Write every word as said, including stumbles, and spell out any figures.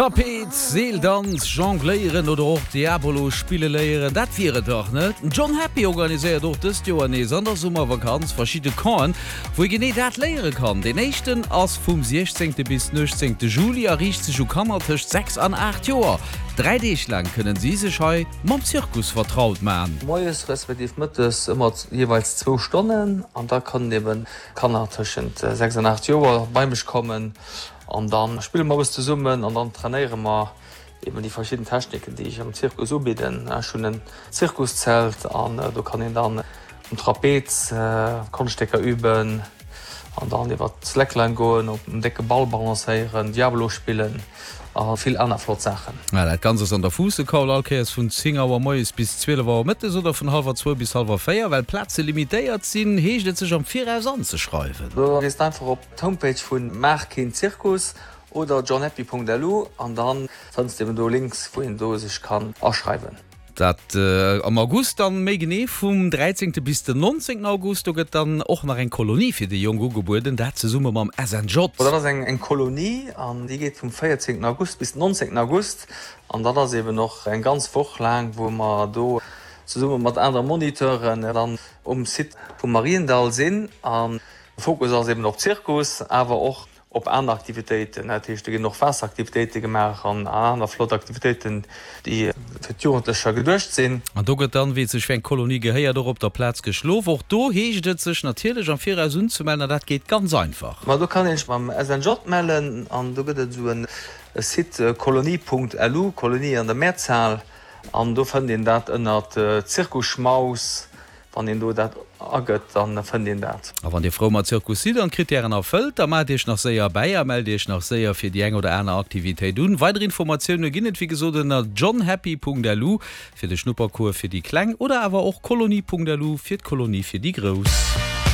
Trapez, Seeldanz, Jongléieren oder och Diabolo spille léieren, dat wier et dach, net? Den John Happy organiséiert och dëst Joer nees an der Summervakanz verschidde Campen, wou ee genee dat léiere kann. Deen éischten ass vum siechzéngte bis den uechtzéngte Juli a riicht sech u Kanner tëscht sechs an aacht Joer. Dräi Deeg laang kënnen si sech hei mam Zirkus vertraut man. Moies respektiv mëttes ëmmer jeeweils zwou Stonnen an da kënnen eben Kanner tëschent sechs an aacht Joer bei mech kommen an da spille mer eppes zesummen an dann trainéiere mer eben déi verschidden Techniken, déi ech am Zirkus ubidden. Ech hunn en Zirkuszelt an do kann een dann um Trapez Konschtstécker üben an dann iwwer d'Slackline goen, op en décke Ball balancéieren, Diabolo spillen a vill aner flott Saachen. Dat Ganzt ass an der Fuussekaul, all Kéiers vun zéng Auer moies bis zwielef Auer mëttes oder vun hallwer zwou bis hallwer véier. Well d'Plaze limitéiert sinn, heescht et sech am Viraus anzeschreiwen. Do gees de einfach op d'Homepage vu Maach keen Zirkus oder johnhappy.lu an dann fënns de eben do Links, wou een do sech kann aschreiwen. Dat am August dann, méi genee vum dräizéngte bis den nonzéngten August. Do gëtt dann och nach eng Kolonie fir déi Jonk ugebueden, dat zesumme mam S N J. Dat ass eng Kolonie an déi geet vum véierzéngten August bis den nonzéngten August. An dat ass eben och eng ganz Woch laang, wou mer do zesumme mat anere Moniteuren dann um Site vum Mariendall sinn. An de Fokus ass eben op Zirkus, awer och op aner Aktivitéiten. Dat heescht, do ginn och Waasseraktivitéite gemaach an aner flott Aktivitéiten, déi fir d'Jugendlecher geduecht sinn. An do gëtt dann, wéi et sech fir eng Kolonie gehéiert, och op der Plaz geschlof. Och do heescht et, sech natierlech am Viraus unzemellen, an dat geet ganz einfach. Ma do kann een sech beim S N J mellen an do gëtt et esou e Site kolonie Punkt lu, Kolonie an der Mehrzahl, an do fënnt een dat ënnert Zirkusschmaus. Wann een do dat agëtt, dann fënnt een dat. A wann dir frou mat Zirkus sidd an d'Krittären erfëllt, da maacht iech nach séier bäi a mellt iech nach séier fir déi eng oder aner Aktivitéit un. Weider Informatioune ginn et wéi gesot ënner johnhappy Punkt lu fir de Schnuppercours fir déi Kleng oder awer och kolonie Punkt lu fir d'Kolonie fir déi Grouss.